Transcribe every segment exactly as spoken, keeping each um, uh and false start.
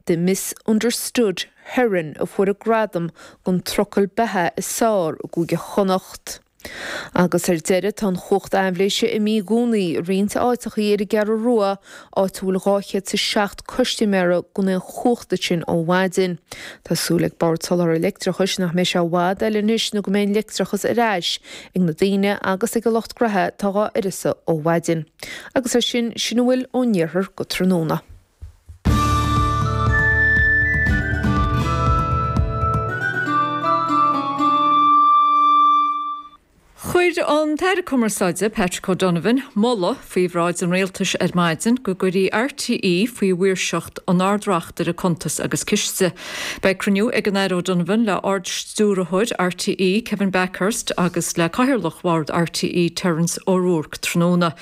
The Misunderstood Heron a fuair a gradam don trucail beatha is fearr i gCúige Chonnacht. Agus ar deireadh tá an chumhacht aibhléise imithe i gcónaí i roinnt áiteachaí ar an gCeathrú Rua áit a bhfuil dhá chéad is seacht custaiméara gan aon chumhacht ansin ó mhaidin. Tá súil ag Bord Soláthair Leictreachais nach mbeidh sé i bhfad eile anois nó go mbeidh an leictreachas ar ais ag na daoine agus ag a lucht gnaithe atá dhá uireasa ó mhaidin. Agus ar sin sin a bhfuil ón iarthar go tráthnóna. Chuir an tAire Cumarsáide Patrick O'Donovan moladh faoi bhráid an rialtais ar maidin go gcuirfí RTÉ faoi mhaoirseacht an Ard-Reachtaire Cuntas agus Ciste. Beidh cruinniú ag an Aire O'Donovan le Ard-Stiúrthóir RTÉ Kevin Bakhurst agus le Cathaoirleach Bhord RTÉ Terence O'Rourke tráthnóna.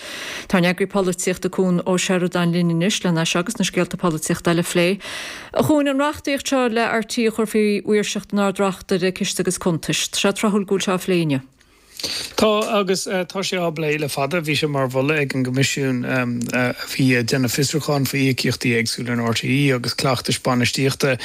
Tá ár n-eagraí polaitíochta Cuan Ó Seireadáin linn anois lena seo agus na scéalta polaitíochta eile a phlé. A Chuain an reachtaíocht seo le RTÉ a chur faoi mhaoirseacht an Ard-Reachtaire Ciste agus Cuntais. Tá sé tráthúil go bhfuil sé á phlé inniu. Tá agus tá sé á bplé le fada. Bhí sé mar mholadh ag an gCoimisiún a bhí ag déanamh fiosrúcháin faoi íocaíochtaí éagsúla in RTÉ agus cleachtais bainistíochta,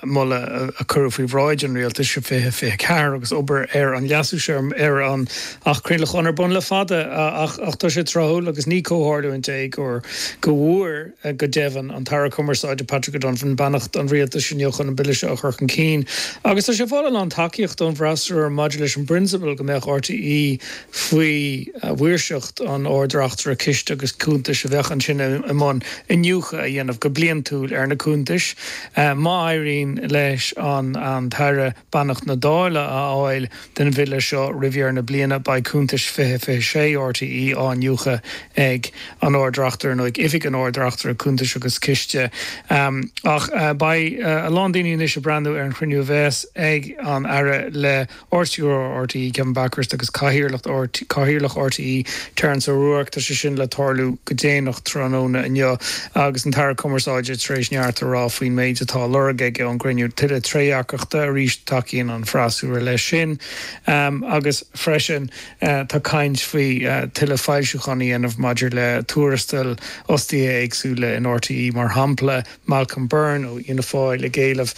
moladh a cuireadh faoi bhráid an Rialtais i fiche fiche ceathair agus obair ar an leasú seo ar an Acht Craolacháin ar bun le fada ach tá sé tráthúil agus ní comhtharlúint é gur go bhfuair go deimhin an tAire Cumarsáide Patrick O'Donovan beannacht an Rialtais inniu chun an bille seo a chur chun cinn agus tá sé ag fáil a lán tacaíochta ón bhfreasúra maidir leis an bprionsabal go mbeadh RTÉ faoi mhaoirseacht an Ard-Reachtaire Ciste agus Cuntais a bheadh ansin i mbun iniúchadh a dhéanamh go bliantúil ar na cuntais. Má éiríonn leis an tAire beannacht na Dála a fháil don bhille seo roimh dheireadh na bliana, beidh cuntais fiche fiche sé RTÉ á n-iniúchadh ag an Ard-Reachtaire nó ag Oifig an Ard-Reachtaire Cuntais agus Ciste. Ach beidh a lán daoine anois ag breathnú ar an chruinniú a bheas ag an Aire le Ard-Stiúrthóir RTÉ, Kevin Bakhurst agus Cathaoirleach Cathaoirleach RTÉ, Terence O'Rourke. Tá sé sin le tarlú go déanach tráthnóna inniu agus an tAire Cumarsáide tar éis neart a rá faoin méid atá á lorg aige ón gcruinniú. Tuilleadh trédhearcachta arís, tacaíonn an freasúra leis sin agus freisin tá caint faoi tuilleadh foilsiúchán a dhéanamh maidir le tuarastail fhostaithe éagsúla in RTÉ, mar shampla Malcolm Byrne ó Fhianna Fáil ag éileamh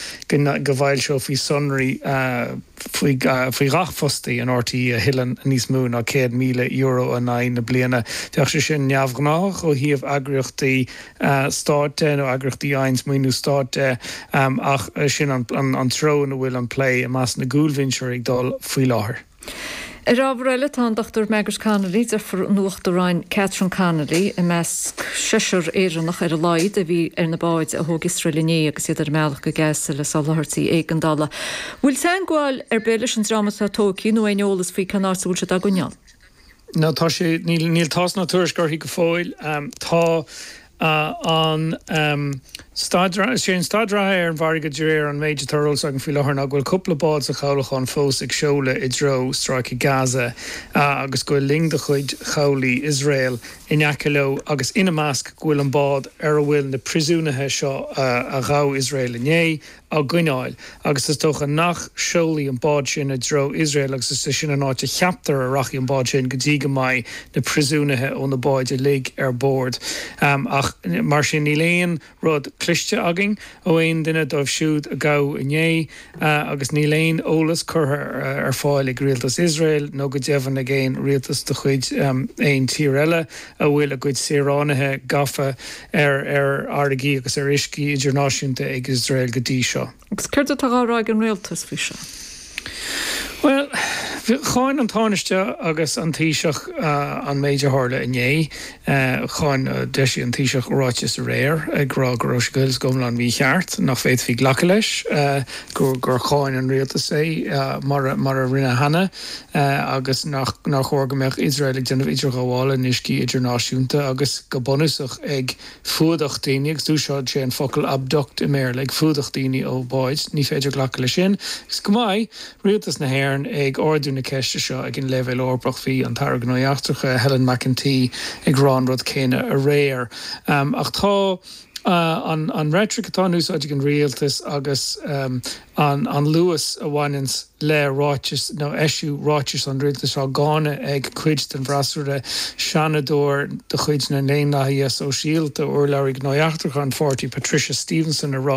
go bhfoilseofaí sonraí faoi gach fostaí in RTÉ a thuilleann níos mó ná céad míle euro in aghaidh na bliana. Bheadh sé sin neamhghnáthach ó thaobh eagraíochtaí stáit de nó eagraíochtaí a fhaigheanns maoiniú stáit de ach sin an treo ina bhfuil an plé i measc na gcúlbhinseoirí ag dul faoi láthair. Ar ábhar eile, tá an Dochtúir Margaret Connolly, deirfiúr an Uachtaráin Catherine Connolly, i measc seisear Éireannach ar a laghad a bhí ar na báid a thóg Iosrael inné agus iad ar a mbealach go Gaza le soláthairtí éigeandála. Bhfuil teagmháil ar bith leis an dream atá tógtha nó aon eolas faoi cén áit a bhfuil siad á gcoinneáil? No, tá sé, níl, níl tásc ná tuairisc uirthi go fóill. Tá an staid, is é an staid reatha ar an bhfarraige de réir an méid atá ar eolas againn faoi láthair ná go bhfuil cúpla bád sa chabhlachán fós ag seoladh i dtreo Stráice Gaza agus go bhfuil loing de chuid chabhlaigh Iosrael in aice leo agus ina measc go bhfuil an bád ar a bhfuil na príosúnaithe seo a ghabh Iosrael inné á gcoinneáil agus is dócha nach seolfaidh an bád sin i dtreo Iosrael agus is é sin an áit a cheaptar a rachaidh an bád sin go dtí go mbeidh na príosúnaithe ó na báid uilig ar bord. Ach mar sin níl aon rud cloiste againn ó aon duine dóibh siúd a gabhadh inné agus níl aon eolas curtha ar fáil ag rialtas Iosrael nó go deimhin ag aon rialtas de chuid aon tír eile a bhfuil a gcuid saoránaithe gafa ar fharraigí agus ar uiscí idirnáisiúnta ag Iosrael go dtí seo. Agus céard atá á rá ag an rialtas faoi seo? Bhuel, cháin an Tánaiste agus an Taoiseach an méid a tharla inné. Cháin, d'eisigh an Taoiseach ráiteas aréir ag rá go raibh sé go huile is go hiomlán mícheart, nach bhféadfaí glacadh leis, gur cháin an rialtas é mar a rinne cheana agus nár chóir go mbeadh Iosrael ag déanamh idirghabhála in uiscí idirnáisiúnta agus go bunúsach ag fuadach daoine, agus d'úsáid sé an focal abduct i mBéarla, ag fuadach daoine ó bháid. Ní féidir glacadh leis sin. Agus go mbeidh rialtas na hÉireann ag ardú na ceiste seo ag an leibhéal Eorpach, bhí an tAire Gnóthaí Eachtracha, Helen McEntee ag rá an rud céanna aréir. Ach tá an reitric atá in úsáid ag an rialtas agus an luas a bhaineanns le ráiteas nó eisiú ráitis an rialtais á gcáineadh ag cuid den bhfreasúra, Seanadóir de chuid na nDaonlathaithe Sóisialta, urlabhraí Gnóthaí Eachtracha an pháirtí, Patricia Stevenson, ag rá